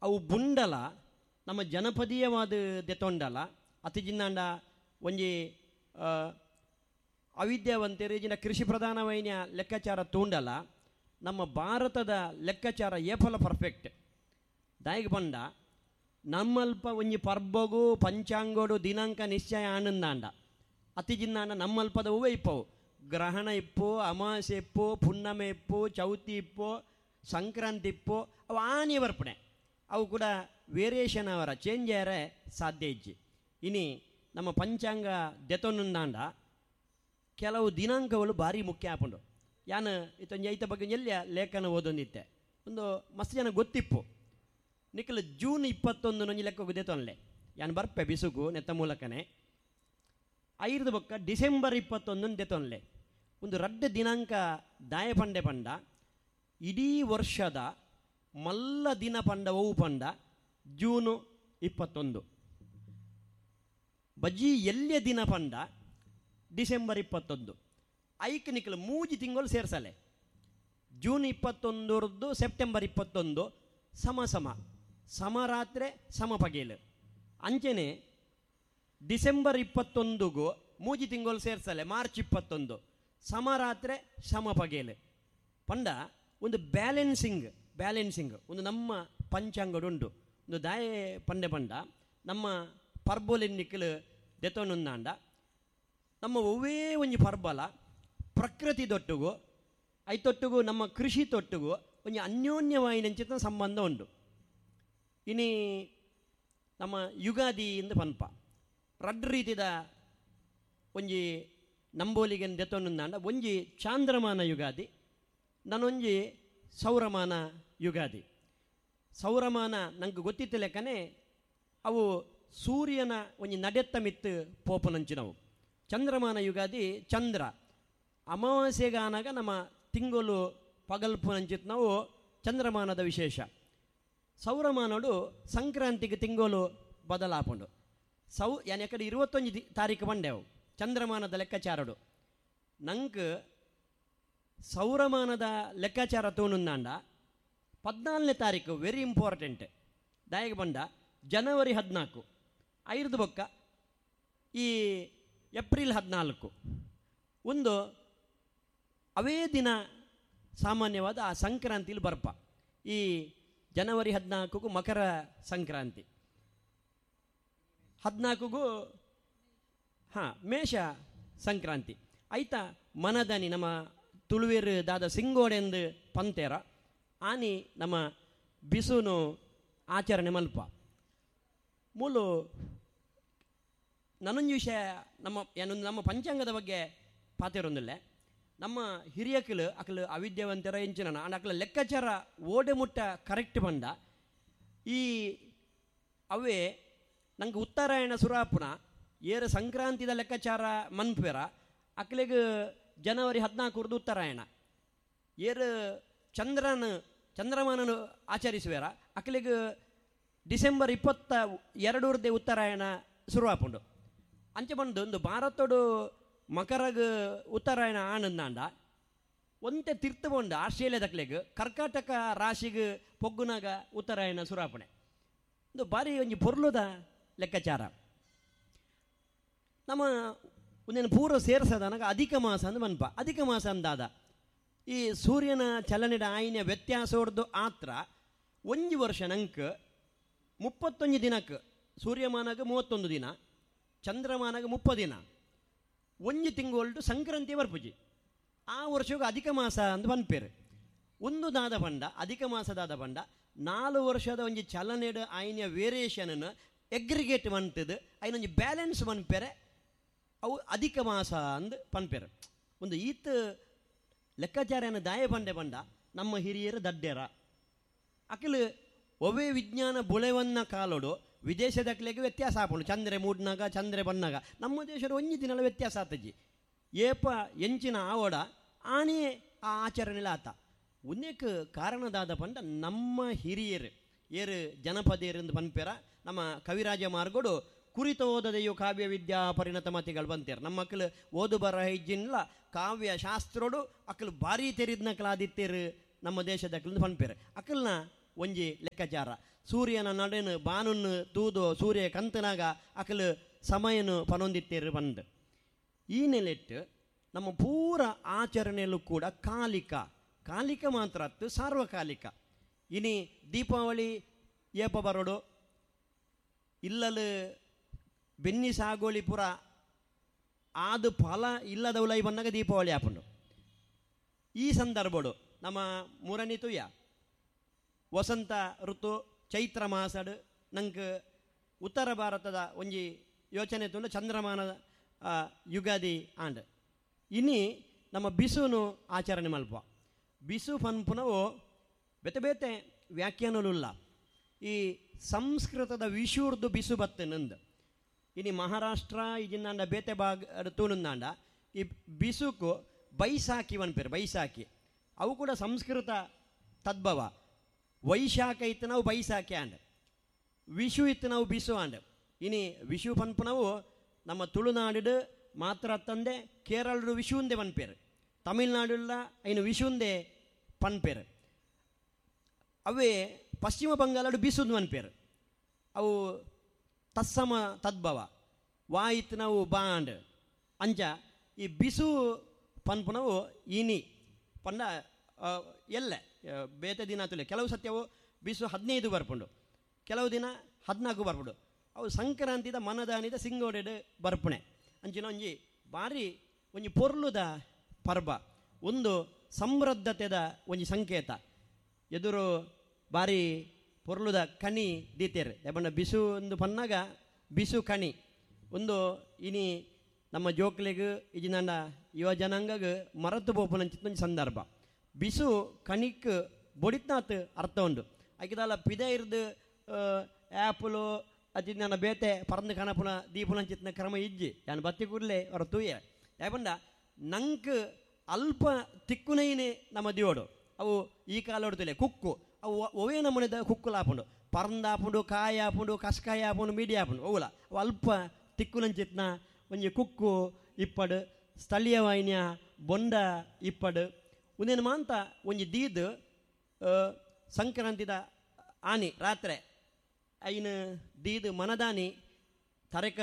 ಅವು ಬುಂಡಲ ನಮ್ಮ ಜನಪದೀಯವಾದ ದೆತೊಂಡಲ ಅತಿ ಜಿನ್ನಾಂಡ ಒಂಜಿ ಅವಿದ್ಯಾವಂತೆರು ಜಿನ ಕೃಷಿ ಪ್ರಧಾನವೈನ ಲೆಕ್ಕಾಚಾರ ತೂಂಡಲ ನಮ್ಮ ಭಾರತದ ಲೆಕ್ಕಾಚಾರ ಏಫಲ ಪರ್ಫೆಕ್ಟ್. ದಾಯಿಗೆ ಬಂಡ ನಮ್ಮಲ್ಪ ಒಂಜಿ ಪರ್ಬಗು ಪಂಚಾಂಗೋಡು ದಿನಾಂಕ ನಿಶ್ಚಯ ಆನಂದಾಂಡ ಅತಿ ಜಿನ್ನಾಂಡ ನಮ್ಮಲ್ಪದ ಹೂವೇ ಇಪ್ಪವು ಗ್ರಹಣ ಇಪ್ಪು, ಅಮಾವಾಸ್ಯೆ ಇಪ್ಪು, ಪುಣ್ಣಮೆ ಇಪ್ಪು, ಚೌತಿ ಇಪ್ಪು, ಸಂಕ್ರಾಂತಿ ಇಪ್ಪು, ಅವು ಆನಿ ಬರ್ಪಣೆ ಅವು ಕೂಡ ವೇರಿಯೇಷನ್ ಅವರ ಚೇಂಜ್ ಆರೆ ಸಾಧ್ಯ ಇಜ್ಜಿ. ಇನಿ ನಮ್ಮ ಪಂಚಾಂಗ ದೆತೊಂದಾಂಡ ಕೆಲವು ದಿನಾಂಕಗಳು ಭಾರಿ ಮುಖ್ಯ ಆಪುಂಡು. ಯಾನ್ ಇತ್ತೊಂಜಿ ಐತ ಬಗ್ಗೆ ಎಲ್ಲಿಯ ಲೇಖನ ಓದೊಂದಿತ್ತೆ ಒಂದು ಮಸ್ತ್ ಜನ ಗೊತ್ತಿಪ್ಪು. ನಿಖಲ್ ಜೂನ್ 21 ಒಂಜಿ ಲೆಕ್ಕ ದೆತೊನ್ಲೆ ಯಾನ್ ಬರ್ಪೆ ಬಿಸುಗು ನೆತ್ತ ಮೂಲಕನೇ ಐರ್ದ ಬೊಕ್ಕ ಡಿಸೆಂಬರ್ 21 ದೆತೊನ್ಲೆ ಒಂದು ರಡ್ಡ ದಿನಾಂಕ ದಾಯ ಪಂಡೆ ಪಂಡ ಇಡೀ ವರ್ಷದ ಮಲ್ಲ ದಿನ ಪಂಡ ಒವು ಪಂಡ ಜೂನು 21, ಬಜಿ ಎಲ್ಲಿಯ ದಿನ ಪಂಡ ಡಿಸೆಂಬರ್ 21. ಐಕ್ ನಿಖಲ್ ಮೂಜಿ ತಿಂಗಳು ಸೇರ್ಸಲೆ ಜೂನ್ 21 ಸೆಪ್ಟೆಂಬರ್ 21 ಸಮ ಸಮ ಸಮರಾತ್ರೆ ಸಮ ಪಗೇಲು. ಅಂಚನೆ ಡಿಸೆಂಬರ್ 21ಗೂ ಮೂಜಿ ತಿಂಗಳು ಸೇರ್ಸಲೆ ಮಾರ್ಚ್ 21 ಸಮರಾತ್ರೆ ಸಮ ಪಗೇಲು ಪಂಡ ಒಂದು ಬ್ಯಾಲೆನ್ಸಿಂಗ್ ಬ್ಯಾಲೆನ್ಸಿಂಗ್ ಒಂದು ನಮ್ಮ ಪಂಚಾಂಗಡುಂಡು. ಒಂದು ದಾಯೆ ಪಂಡೆ ಪಂಡ ನಮ್ಮ ಪರ್ಬೋಲಿನ್ನಿಕ್ಕಲು ದೆತೊಂದಾಂಡ ನಮ್ಮ ಒವ್ವೇ ಒಂಜಿ ಪರ್ಬಲ ಪ್ರಕೃತಿ ತೊಟ್ಟುಗು ಐತೊಟ್ಟುಗು ನಮ್ಮ ಕೃಷಿ ತೊಟ್ಟುಗು ಒಂಜಿ ಅನ್ಯೋನ್ಯವಾಯಿನಂಚಿತ ಸಂಬಂಧ ಉಂಡು. ಇನಿ ನಮ್ಮ ಯುಗಾದಿ ಇಂದ ಪನ್ಪ ರಡ್ಡು ರೀತಿದ ಒಂಜಿ ನಂಬೋಲಿಗೆ ದೆತೊಂದಾಂಡ ಒಂಜಿ ಚಾಂದ್ರಮಾನ ಯುಗಾದಿ, ನಾನೊಂಜಿ ಸೌರಮಾನ ಯುಗಾದಿ. ಸೌರಮಾನ ನಂಗೆ ಗೊತ್ತಿತ್ತು ಲೆಕ್ಕನೆ ಅವು ಸೂರ್ಯನ ಒಂಜಿ ನಡೆತ್ತ ಮಿತ್ತು ಪೋಪನಂಚಿನವು. ಚಂದ್ರಮಾನ ಯುಗಾದಿ ಚಂದ್ರ ಅಮಾವಾಸ್ಯೆಗಾನಾಗ ನಮ್ಮ ತಿಂಗಳು ಪಗಲ್ಪುನಂಚಿತ್ ನಾವು ಚಂದ್ರಮಾನದ ವಿಶೇಷ. ಸೌರಮಾನೋಡು ಸಂಕ್ರಾಂತಿಗೆ ತಿಂಗಳು ಬದಲಾಪುಂಡು. ಯಾನ್ ಯಾಕಡೆ 21 ತಾರೀಕು ಬಂಡೆವು ಚಂದ್ರಮಾನದ ಲೆಕ್ಕಾಚಾರಡು. ನಂಗೆ ಸೌರಮಾನದ ಲೆಕ್ಕಾಚಾರ ತೋನುಂದಾಂಡ 14ನೇ ತಾರೀಕು ವೆರಿ ಇಂಪಾರ್ಟೆಂಟ್. ದಾಯಿಗೆ ಬಂಡ ಜನವರಿ 14 ಐರ್ದು ಬೊಕ್ಕ ಈ ಏಪ್ರಿಲ್ 14 ಒಂದು ಅವೇ ದಿನ ಸಾಮಾನ್ಯವಾದ ಆ ಸಂಕ್ರಾಂತಿಲಿ ಬರ್ಪ. ಈ ಜನವರಿ 14ಗೂ ಮಕರ ಸಂಕ್ರಾಂತಿ, 14ಗೂ ಹಾಂ ಮೇಷ ಸಂಕ್ರಾಂತಿ ಆಯ್ತಾ. ಮನದನಿ ನಮ್ಮ ತುಳುವೇರು ದಾದ ಸಿಂಗೋಡೆಂದು ಪಂತೇರ ಆನಿ ನಮ್ಮ ಬಿಸುನು ಆಚರಣೆ ಮಲ್ಪ. ಮೂಲು ನಾನೊಂದು ವಿಷಯ ನಮ್ಮ ಏನೊಂದು ನಮ್ಮ ಪಂಚಾಂಗದ ಬಗ್ಗೆ ಪಾತಿರೊಂದಿಲ್ಲ. ನಮ್ಮ ಹಿರಿಯಕಲು ಅಕಲು ಅವಿದ್ಯಾವಂತರ ಎಂಚಿನ ಅಂಡ್ ಅಕಲ ಲೆಕ್ಕಾಚಾರ ಓಡೆ ಮುಟ್ಟ ಕರೆಕ್ಟ್ ಬಂದ ಈ ಅವೇ ನಂಗೆ ಉತ್ತರಾಯಣ ಸುರಾಪುನ ಏರು ಸಂಕ್ರಾಂತಿದ ಲೆಕ್ಕಾಚಾರ ಮನ್ಪೇರ ಅಕ್ಲೆಗ್ ಜನವರಿ 14 ಉತ್ತರಾಯಣ, ಏರು ಚಂದ್ರಮಾನನು ಆಚರಿಸುವೇರ ಅಕ್ಲೆಗ್ ಡಿಸೆಂಬರ್ 22 ಉತ್ತರಾಯಣ ಶುರುವಾಪುಂಡು. ಅಂಚೆ ಬಂದು ಒಂದು ಭಾರತೋಡು ಮಕರಗ್ ಉತ್ತರಾಯಣ ಆನಂದಾಂಡ ಒಂತೆ ತಿರ್ತುಕೊಂಡು ಆಸ್ಟ್ರೇಲಿಯಾದಕ್ಲೆಗ್ ಕರ್ಕಾಟಕ ರಾಶಿಗೆ ಪೊಗ್ಗುನಾಗ ಉತ್ತರಾಯಣ ಸುರಾಪಣೆ. ಒಂದು ಭಾರಿ ಒಂಜಿ ಪೊರ್ಲುದ ಲೆಕ್ಕಾಚಾರ. ನಮ್ಮ ಒಂದೇನು ಪೂರ್ವ ಸೇರ್ಸದನಾಗ ಅಧಿಕ ಮಾಸ ಅಂದ್ ಮನ್ಪ. ಅಧಿಕ ಮಾಸ ಅಂದಾದ ಈ ಸೂರ್ಯನ ಚಲನೆಡ ಆಯಿನ ವ್ಯತ್ಯಾಸ ಹೊಡೆದು ಆತ್ರ ಒಂಜಿ ವರ್ಷ ನಂಕ್ 31 ದಿನಕ್ಕೆ ಸೂರ್ಯಮಾನಾಗ 31 ದಿನ, ಚಂದ್ರಮಾನಾಗ 30 ದಿನ, ಒಂಜಿ ತಿಂಗಳು ಸಂಕ್ರಾಂತಿ ಬರ್ಪುಜಿ. ಆ ವರ್ಷಕ್ಕೆ ಅಧಿಕ ಮಾಸ ಅಂದ್ ಪನ್ಪೇರು. ಒಂದು ದಾದ ಪಂಡ ಅಧಿಕ ಮಾಸದಾದ ಪಂಡ 4 ವರ್ಷದ ಒಂಜಿ ಚಲನೆಡು ಆಯ್ನ ವೇರಿಯೇಷನ್ ಎಗ್ರಿಗೇಟ್ ಮಂತದು ಐನೊಂಜಿ ಬ್ಯಾಲೆನ್ಸ್ ಮನ್ಪೇರೆ ಅವು ಅಧಿಕ ಮಾಸ ಅಂದ್ ಪನ್ಪೇರು. ಒಂದು ಈತ ಲೆಕ್ಕಾಚಾರನ ದಾಯ ಪಂಡೆ ಪಂಡ ನಮ್ಮ ಹಿರಿಯರು ದಡ್ಡೇರ ಅಖಿಲ ಒವೇ ವಿಜ್ಞಾನ ಬುಳೆವನ್ನ ಕಾಲೋಡು ವಿದೇಶದಕ್ಲೆಗೆ ವ್ಯತ್ಯಾಸ ಆಪುಂಡು. ಚಂದ್ರೆ ಮೂಡ್ನಾಗ ಚಂದ್ರೆ ಬನ್ನಾಗ ನಮ್ಮ ದೇಶದ ಒಂಜಿ ದಿನಲ ವ್ಯತ್ಯಾಸ ಆತಜ್ಜಿ. ಏಪ ಎಂಚಿನ ಆವಡ ಆನೆ ಆ ಆಚರಣೆಲ ಆತ. ಒಂದೇಕ್ ಕಾರಣದಾದ ಪಂಡ ನಮ್ಮ ಹಿರಿಯರು ಏರು ಜನಪದಿಯರೆಂದು ಪನ್ಪೇರ ನಮ್ಮ ಕವಿರಾಜ ಮಾರ್ಗೋಡು ಕುರಿತ ಓದದೆಯು ಕಾವ್ಯ ವಿದ್ಯಾ ಪರಿಣತ ಮತಿಗಳು ಬಂತೇರು. ನಮ್ಮ ಮಕ್ಕಳು ಓದು ಬರಹ ಇಜ್ಜಿನ್ಲ ಕಾವ್ಯ ಶಾಸ್ತ್ರೋಡು ಅಕ್ಕಲು ಭಾರಿ ತೆರಿದ್ನಕಲಾದಿತ್ತೇರು ನಮ್ಮ ದೇಶದ ಅಕ್ಕಲು ಪನ್ಪೇರು. ಅಕ್ಕಲ್ನ ಒಂಜಿ ಲೆಕ್ಕಾಚಾರ ಸೂರ್ಯನ ನಡೆನು ಬಾನುನ್ನು ತೂದು ಸೂರ್ಯ ಕಂತನಾಗ ಅಕಲು ಸಮಯನು ಪನೊಂದಿತ್ತೇರು ಬಂದು. ಈ ನೆಲೆಟ್ಟು ನಮ್ಮ ಪೂರ ಆಚರಣೆಯಲ್ಲೂ ಕೂಡ ಕಾಲಿಕ, ಕಾಲಿಕ ಮಾತ್ರ ಅತ್ತು ಸಾರ್ವಕಾಲಿಕ. ಇನಿ ದೀಪಾವಳಿ ಏಪ ಬರೋಡು ಇಲ್ಲಲು ಬೆನ್ನಿ ಸಾಗೋಳಿ ಪುರ ಆದು ಫಲ ಇಲ್ಲದವಲೈ ಬಂದಾಗ ದೀಪಾವಳಿ ಆಪುಂಡು. ಈ ಸಂದರ್ಭಡು ನಮ್ಮ ಮೂರನೇ ತುಯ್ಯ ವಸಂತ ಋತು ಚೈತ್ರ ಮಾಸಡು ನಂಗೆ ಉತ್ತರ ಭಾರತದ ಒಂಜಿ ಯೋಚನೆ ತುಂಡು ಚಂದ್ರಮಾನ ಯುಗಾದಿ ಆಂಡ್. ಇನಿ ನಮ್ಮ ಬಿಸುನು ಆಚರಣೆ ಮಲ್ಪ. ಬಿಸು ಪನ್ಪುನವು ಬೇತೆ ಬೇತೆ ವ್ಯಾಖ್ಯಾನಲುಲ್ಲ. ಈ ಸಂಸ್ಕೃತದ ವಿಷುರ್ದು ಬಿಸು ಬತ್ತು ನಂದು. ಇನಿ ಮಹಾರಾಷ್ಟ್ರ ಇಜಿಂದಾಂಡ ಬೇತೆ ಭಾಗ ತೂನುಂದಾಂಡ ಈ ಬಿಸುಕು ಬೈಸಾಖಿ ಪನ್ಪೇರು, ಬೈಸಾಖಿ ಅವು ಕೂಡ ಸಂಸ್ಕೃತ ತದ್ಭವ. ವೈಶಾಖ ಇತ್ತು ನಾವು ಬೈಸಾಖಿ ಆಂಡ್, ವಿಷು ಇತ್ತು ನಾವು ಬಿಸು ಆಂಡ್. ಇನಿ ವಿಷು ಪನ್ಪುನವು ನಮ್ಮ ತುಳುನಾಡು ಮಾತ್ರ ತಂದೆ ಕೇರಳಡು ವಿಷುಂದೆ ಪನ್ಪೇರು, ತಮಿಳ್ನಾಡುಲ್ಲ ಐನು ವಿಷುಂದೆ ಪನ್ಪೇರು. ಅವೇ ಪಶ್ಚಿಮ ಬಂಗಾಳಡು ಬಿಸುಂದು ಪನ್ಪೇರು, ಅವು ತತ್ಸಮ ತದ್ಭವ. ವಾಯಿತ್ತು ನಾವು ಬಾಂಡ್ ಅಂಚ ಈ ಬಿಸು ಪನ್ಪುನವು ಇನಿ ಪಂಡ ಎಲ್ಲ ಬೇತೆ ದಿನ ತುಲೆ. ಕೆಲವು ಸತ್ಯವು ಬಿಸು 15 ಬರ್ಪುಂಡು, ಕೆಲವು ದಿನ 14 ಬರ್ಪುಂಡು. ಅವು ಸಂಕ್ರಾಂತಿದ ಮನದಾನಿದ ಸಿಂಗೋಡೆಡು ಬರ್ಪುಣೆ. ಅಂಚಿನ ಒಂಜಿ ಬಾರಿ ಒಂಜಿ ಪೊರ್ಲುದ ಪರ್ಬ, ಒಂದು ಸಮೃದ್ಧತೆದ ಒಂಜಿ ಸಂಕೇತ. ಎದುರು ಬಾರಿ ಪೊರ್ಲುದ ಕಣಿ ದೀತೇರು ಯಾಪಂಡ ಬಿಸು ಒಂದು ಪನ್ನಾಗ ಬಿಸು ಕಣಿ ಒಂದು ಇನಿ ನಮ್ಮ ಜೋಕ್ಲೆಗ್ ಇಜಿನಾಂಡ ಯುವ ಜನಾಂಗಗ್ ಮರತು ಪೋಪುನಂಚಿತ್ತ ಒಂಜಿ ಸಂದರ್ಭ. ಬಿಸು ಕಣಿಕ್ ಬೊಡಿತ್ನಾತ್ ಅರ್ಥ ಉಂಡು. ಐಕಿದಾಲ ಪಿದ ಇರ್ದು ಆ್ಯಪಲು ಅಜಿನ ಬೇತೆ ಪರಂದು ಕಣಪುನ ದೀಪುನಂಚಿತ್ನ ಕ್ರಮ ಇಜ್ಜಿ ಯಾನ್ ಬತ್ತಿ ಕೂಡಲೇ ಅವರ ತೂಯೆ. ಯಾಪಂಡ ನಂಕ್ ಅಲ್ಪ ತಿಕ್ಕುನೈನೆ ನಮ್ಮ ದಿಯೋಡು ಅವು ಈ ಕಾಲೋಡ್ತಿಲ್ಲ ಕುಕ್ಕು ಅವು ಒವೇ ನಮೂನೆದ ಕುಕ್ಕುಲಾಪುಂಡು, ಪರಂದಾಪುಂಡು, ಕಾಯಿ ಆಪುಂಡು, ಕಸ್ಕಾಯಿ ಆಪುಂಡು, ಮೀಡಿ ಆಪುಂಡು, ಅವುಲ ಅವು ಅಲ್ಪ ತಿಕ್ಕುನಂಚಿತ್ನ ಒಂಜಿ ಕುಕ್ಕು ಇಪ್ಪಡು, ಸ್ಥಳೀಯವಾಯಿನ ಬೊಂಡ ಇಪ್ಪಡು. ಒಂದೇನು ಮಾಂತ ಒಂಜಿ ದೀದ್ ಸಂಕ್ರಾಂತಿದ ಆನಿ ರಾತ್ರೆ ಐನು ದೀದ್ ಮನದಾನಿ ತರಕ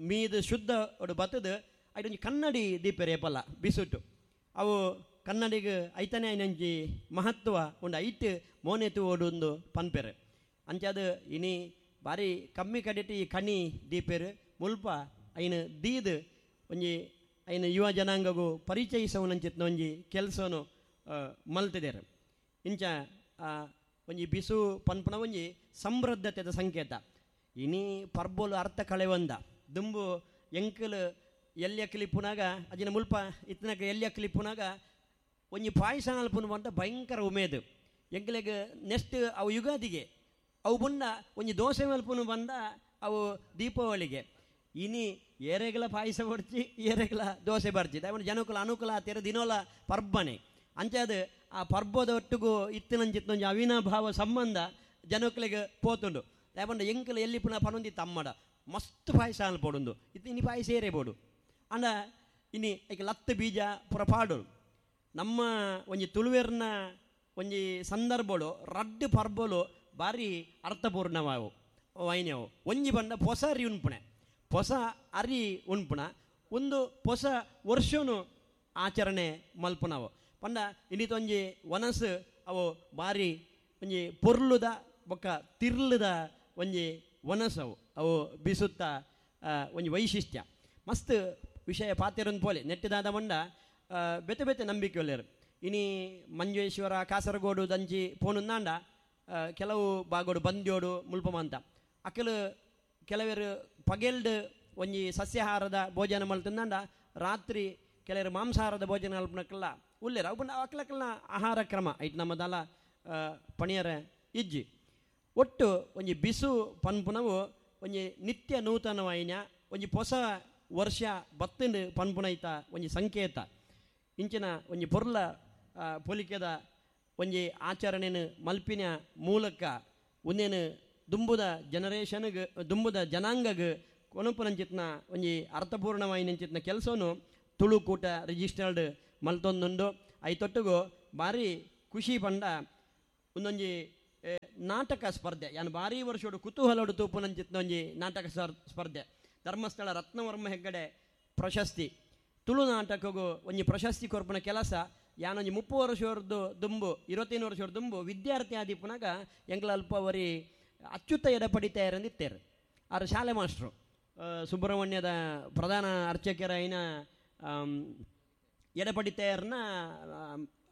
ಮೀದು ಶುದ್ಧ ಒಡು ಬತ್ತದು ಐಟೊಂಜಿ ಕನ್ನಡಿ ದೀಪೆರೆ ಏಪಲ್ಲ ಬಿಸುಟು. ಅವು ಕನ್ನಡಿಗೆ ಐತನೇ ಐನಂಜಿ ಮಹತ್ವ ಉಂಡು, ಐಟ್ ಮೋನೆತು ಓಡುಂದು ಪನ್ಪೆರು. ಅಂಚಾದ ಇನಿ ಬಾರಿ ಕಮ್ಮಿ ಕಡೆಟ್ ಈ ಕಣಿ ದೀಪೆರು ಮುಲ್ಪ ಐನು ದೀದ್ ಒಂಜಿ ಐನು ಯುವ ಜನಾಂಗಗೂ ಪರಿಚಯಿಸವನಂಚಿತ್ನ ಒಂಜಿ ಕೆಲಸನು ಮಲ್ತಿದ್ದೇರು. ಇಂಚ ಒಂಜಿ ಬಿಸು ಪನ್ಪುನ ಒಂಜಿ ಸಮೃದ್ಧತೆದ ಸಂಕೇತ. ಇನಿ ಪರ್ಬೋಲು ಅರ್ಥ ಕಳೆವಂದ ದುಂಬು ಎಂಕಲು ಎಲ್ಯ ಕ್ಲಿಪ್ಪುನಾಗ ಅಜಿನ ಮುಲ್ಪ ಇತ್ತನಕ ಎಲ್ಯ ಕ್ಲಿಪ್ಪುನಾಗ ಒಂಜಿ ಪಾಯಸ ಅಲ್ಪುನ ಬಂತ ಭಯಂಕರ ಉಮೇದು ಎಂಕಲೆಗ್. ನೆಕ್ಸ್ಟ್ ಅವು ಯುಗಾದಿಗೆ ಅವು ಬುಂಡ ಒಂಜಿ ದೋಸೆ ಮಲ್ಪುನು ಬಂದ ಅವು ದೀಪಾವಳಿಗೆ. ಇನಿ ಏರೆಗಲ ಪಾಯಸ ಬರ್ಚಿ ಏರೆಗಲ ದೋಸೆ ಬರ್ಚಿ ಅವನ ಜನಕುಲ ಅನುಕೂಲ ಆತೀರ ದಿನೋಲ ಪರ್ಬನೆ. ಅಂಚಾದ ಆ ಪರ್ಬದ ಒಟ್ಟುಗು ಇತ್ತಿನಂಚಿತ್ತೊಂಜಿ ಅವಿನಾಭಾವ ಸಂಬಂಧ ಜನಕುಲೆಗ್ ಪೋತುಂಡು. ಯಾಪಂಡ ಎಂಕಲು ಎಲ್ಲಿ ಪುನಃ ಪನೊಂದಿ ತಮ್ಮಡ ಮಸ್ತ್ ಪಾಯಸ ಅನ್ಪೋಡುಂದು ಇತ್ತು ಇನಿ ಪಾಯಸ ಏರೇಬೋಡು. ಅಂಡ ಇನಿ ಐಕೆ ಲತ್ತು ಬೀಜ ಪುರ ಪಾಡೋಡು. ನಮ್ಮ ಒಂಜಿ ತುಳುವೆರ್ನ ಒಂಜಿ ಸಂದರ್ಭಳು ರಡ್ಡು ಪರ್ಬಲು ಭಾರಿ ಅರ್ಥಪೂರ್ಣವಾವು ವೈನ್ಯವು. ಒಂಜಿ ಬಂಡ ಪೊಸ ಅರಿ ಉಣ್ಪುಣೆ, ಪೊಸ ಅರಿ ಉಣ್ಪುಣ ಒಂದು ಪೊಸ ವರ್ಷನು ಆಚರಣೆ ಮಲ್ಪುನವು. ಪಂಡ ಇನ್ನಿತೊಂಜಿ ವನಸು ಅವು ಭಾರಿ ಒಂಜಿ ಪೊರ್ಲುದ ಬೊಕ್ಕ ತಿರ್ಲುದ ಒಂಜಿ ವನಸವು ಅವು ಬಿಸುತ್ತ ಒಂಜಿ ವೈಶಿಷ್ಟ್ಯ. ಮಸ್ತ್ ವಿಷಯ ಪಾತೆರೊಂದು ಪೋಲೆ ನೆಟ್ಟಿದಾದ ಮಂಡ ಬೇತೆ ಬೇತೆ ನಂಬಿಕೆ ಒಲ್ಲೆರು. ಇನಿ ಮಂಜೇಶ್ವರ ಕಾಸರಗೋಡು ದಂಚಿ ಪೋನುಂದಾಂಡ ಕೆಲವು ಬಾಗೋಡು ಬಂದ್ಯೋಡು ಮುಲ್ಪಮಾಂತ ಅಕಲು ಕೆಲವರು ಪಗೆಲ್ಡ್ ಒಂಜಿ ಸಸ್ಯಾಹಾರದ ಭೋಜನ ಮಲ್ತಂದಾಂಡ ರಾತ್ರಿ ಕೆಲವರು ಮಾಂಸಾಹಾರದ ಭೋಜನ ಅಲ್ಪನಕ್ಕೆಲ್ಲ ಉಲ್ಲೇರು. ಅವು ಅಕ್ಲಕ್ಕಲ್ನ ಆಹಾರ ಕ್ರಮ ಐಟ್ ನಮ್ಮದಲ್ಲ ಪಣಿಯರ ಇಜ್ಜಿ. ಒಟ್ಟು ಒಂಜಿ ಬಿಸು ಪನ್ಪುನವು ಒಂಜಿ ನಿತ್ಯ ನೂತನವಾಯಿನ ಒಂಜಿ ಪೊಸ ವರ್ಷ ಬತ್ತಿಂಡು ಪನ್ಪುನೈತ ಒಂಜಿ ಸಂಕೇತ. ಇಂಚಿನ ಒಂಜಿ ಪೊರ್ಲ ಪೊಲಿಕೆದ ಒಂಜಿ ಆಚರಣೆನು ಮಲ್ಪಿನ ಮೂಲಕ ಒಂದೇನು ದುಂಬುದ ಜನರೇಷನ್ಗೆ ದುಂಬುದ ಜನಾಂಗಗ್ ಕೊನಪುನಂಚಿತ್ನ ಒಂಜಿ ಅರ್ಥಪೂರ್ಣವಾಯಿನಂಚಿತ್ನ ಕೆಲಸನು ತುಳುಕೂಟ ರಿಜಿಸ್ಟರ್ಡ್ ಮಲ್ತೊಂದುಂಡು. ಐತೊಟ್ಟುಗು ಭಾರಿ ಖುಷಿ ಪಂಡ ಒಂದೊಂಜಿ ನಾಟಕ ಸ್ಪರ್ಧೆ. ಯಾನ್ ಭಾರಿ ವರ್ಷೋಡು ಕುತೂಹಲೋಡು ತೂಪುನಂಚಿತ್ನೊಂಜಿ ನಾಟಕ ಸ್ಪರ್ಧೆ, ಧರ್ಮಸ್ಥಳ ರತ್ನವರ್ಮ ಹೆಗ್ಗಡೆ ಪ್ರಶಸ್ತಿ. ತುಳು ನಾಟಕಗೂ ಒಂಜಿ ಪ್ರಶಸ್ತಿ ಕೊರ್ಪುನ ಕೆಲಸ. ಯಾನೊಂಜಿ 30 ವರ್ಷದ್ದು ದುಂಬು, 25 ವರ್ಷದ ದುಂಬು ವಿದ್ಯಾರ್ಥಿ ಆದಿಪ್ಪುನಾಗ ಎಂಕ್ಲ ಅಲ್ಪ ಒರಿ ಅಚ್ಯುತ ಎಡಪಡಿತಾಯರಂದಿತ್ತೇರು. ಆರು ಶಾಲೆ ಮಾಸ್ಟ್ರು, ಸುಬ್ರಹ್ಮಣ್ಯದ ಪ್ರಧಾನ ಅರ್ಚಕರಾಯಿನ ಎಡಪಡಿತಾಯರ್ನ.